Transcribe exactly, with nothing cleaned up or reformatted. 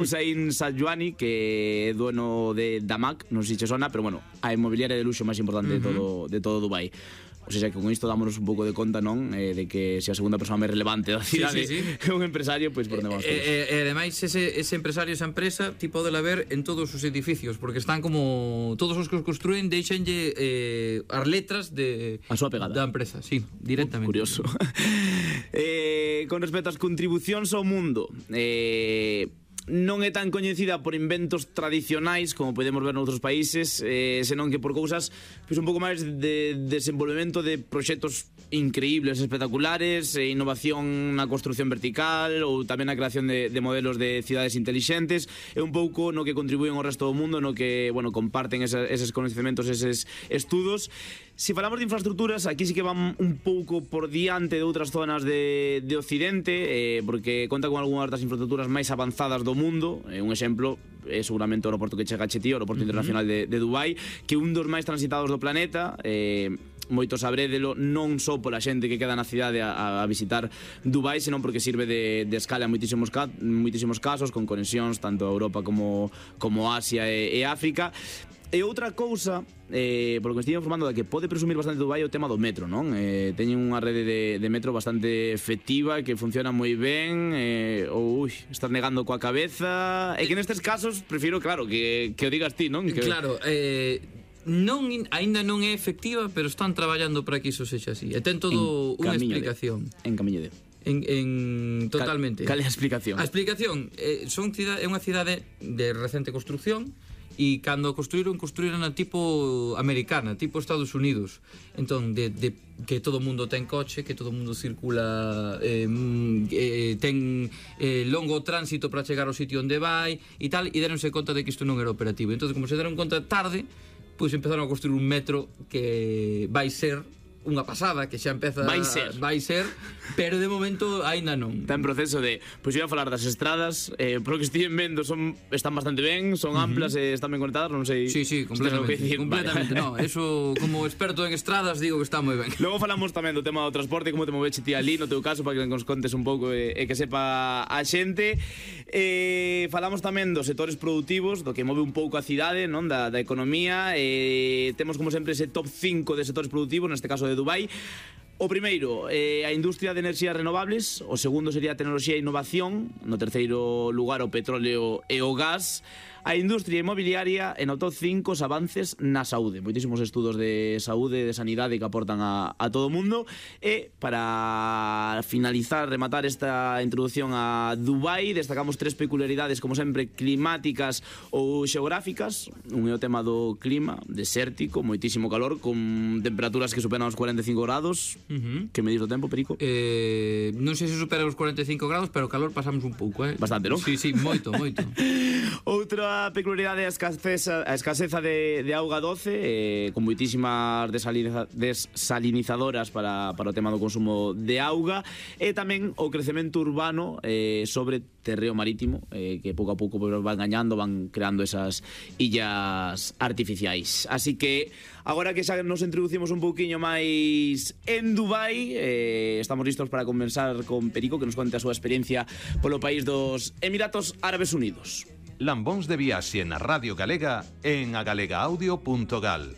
Hussein Sajwani, que é dueño de Damac, non sei se sona, pero bueno, a inmobiliaria de luxo máis importante uh-huh. de todo de todo Dubai. O sea, que con isto dámonos un pouco de conta, non, eh, de que se a segunda persona máis relevante da cidade sí, sí, sí. é un empresario, pois por onde vamos. E eh, eh, ademais ese, ese empresario, esa empresa, ti podela ver en todos os edificios, porque están como todos os que os construen deixenlle eh, as letras de a súa pegada da empresa, sí, directamente. Uh, curioso. eh, con respecto ás contribucións ao mundo, eh non é tan coñecida por inventos tradicionais como podemos ver noutros países, eh, senón que por cousas pois un pouco máis de desenvolvemento de proxectos increíbles, espectaculares, e innovación na construción vertical ou tamén na creación de, de modelos de cidades intelixentes. É un pouco no que contribúen ao resto do mundo, no que, bueno, comparten esa, eses conhecimentos, eses estudos. Se falamos de infraestructuras, aquí sí que van un pouco por diante de outras zonas de, de Occidente, eh, porque conta con algunhas das infraestructuras máis avanzadas do mundo. Eh, un exemplo é seguramente o aeroporto que chega a Chetí, o aeroporto uh-huh. internacional de, de Dubai, que é un dos máis transitados do planeta. eh, moito sabrédelo, non só pola xente que queda na cidade a, a visitar Dubai, senón porque sirve de, de escala en moitísimos, ca, moitísimos casos, con conexións tanto a Europa como, como Asia e, e África. E outra cousa, eh, polo que me estive informando, da que pode presumir bastante Dubai é o tema do metro, non? Eh, teñen unha rede de, de metro bastante efectiva, que funciona moi ben, eh, ou, ui, estás negando coa cabeza. E que nestes casos, prefiro, claro, que, que o digas ti, non? Que... Claro, eh... non, aínda non é efectiva, pero están traballando para que iso sexa así. E ten todo unha explicación. De, en camiño de. En, en totalmente. Cal é a explicación? A explicación eh, son cidade, é unha cidade de recente construcción. E cando construíron, construíron a tipo americana, tipo Estados Unidos. Entón, de, de que todo o mundo ten coche, que todo o mundo circula, eh, eh, ten eh, longo tránsito para chegar ao sitio onde vai e tal, e deronse conta de que isto non era operativo. Entón, como se deron conta tarde, pois empezaron a construir un metro que vai ser unha pasada, que xa empeza vai ser, vai ser pero de momento aínda non. Está en proceso de, pois iba a falar das estradas, eh, por que estiven vendo, son, están bastante ben, son uh-huh. amplas e están ben conectadas, non sei. Sí, sí, completamente, si completamente, vale. No, eso como experto en estradas digo que está moi ben. Logo falamos tamén do tema do transporte, como te moveche ti ali no teu caso, para que nos contes un pouco e, e que sepa a xente. Eh, falamos tamén dos sectores productivos, do que move un pouco a cidade, non, da, da economía. Eh, temos como sempre ese top cinco de sectores productivos, neste caso de Dubai. O primeiro, eh, a industria de enerxías renovables. O segundo sería a tecnoloxía e innovación. No terceiro lugar, o petróleo e o gas. A industria inmobiliaria. En o top cinco, os avances na saúde. Moitísimos estudos de saúde, de sanidade que aportan a, a todo o mundo. E para finalizar, rematar esta introducción a Dubai, destacamos tres peculiaridades, como sempre, climáticas ou xeográficas. Un é o tema do clima, desértico, moitísimo calor, con temperaturas que superan os cuarenta e cinco grados. Uh-huh. Que me dis do tempo, Perico? Eh, non sei se supera os cuarenta e cinco grados, pero calor pasamos un pouco, eh? Bastante, non? Sí, sí, moito, moito. Outra peculiaridade é a escaseza, a escaseza de, de auga doce, eh, con moitísimas desaliniza, desalinizadoras para, para o tema do consumo de auga, e tamén o crecemento urbano eh, sobre terreo marítimo, eh, que pouco a pouco van gañando, van creando esas illas artificiais. Así que agora que xa nos introducimos un pouquiño máis en Dubai, eh, estamos listos para conversar con Perico, que nos conte a súa experiencia polo país dos Emiratos Árabes Unidos. Lambóns de viaxe na Radio Galega en agalega audio punto gal.